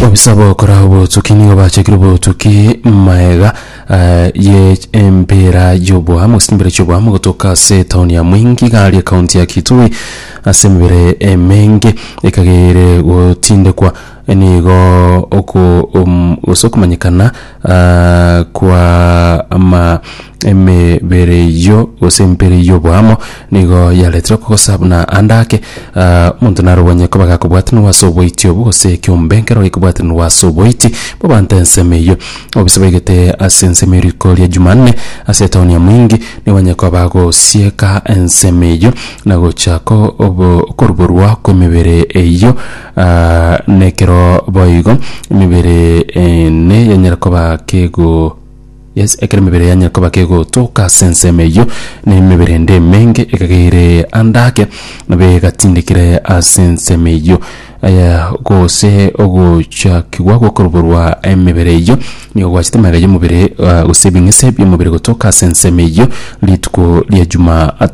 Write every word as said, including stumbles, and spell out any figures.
Obisa bokora obotuki nigo bachekire obotuki maega eh, ye empera y'oboamo gose chimbera chi'oboamo gotoka ase etaoni ya Mwingi iga aria ekaunti ya Kitui ase emebere emenge ekageire gotindekwa. Nigo oko um, gose okomanyekana ah, kwa ama emebere eyio gose empere y'oboamo nigo yaretire okogosa buna ande ake ah, omonto naro obonye koba gakobwatanigwa ase oboiti obwo gose ekiombe nkero gekobwatanigwa ase oboiti bw'abanto ensemo eyio. Obise baigete ase ensemo eriko ria Jumanne ase etaoni ya Mwingi nigo banyare koba bagosieka ensemo eyio na gochaka obo okoruborwa kw'emebere eyio ah, nekero boigo emebere ene yanyara koba kego yes ekero emebere yanyara koba kegotoka ase ensemo eyio na emebere ende emenge ekageire ande ake nabo egatindekire ase ensemo eyio. Aya gose ogochakigwa gokoruborwa emebere eyio nigo gwachete magega y'omobere ah, gose ebing'ese bi'omobere gotoka ase ensemo eyio rituko ria Jumatano.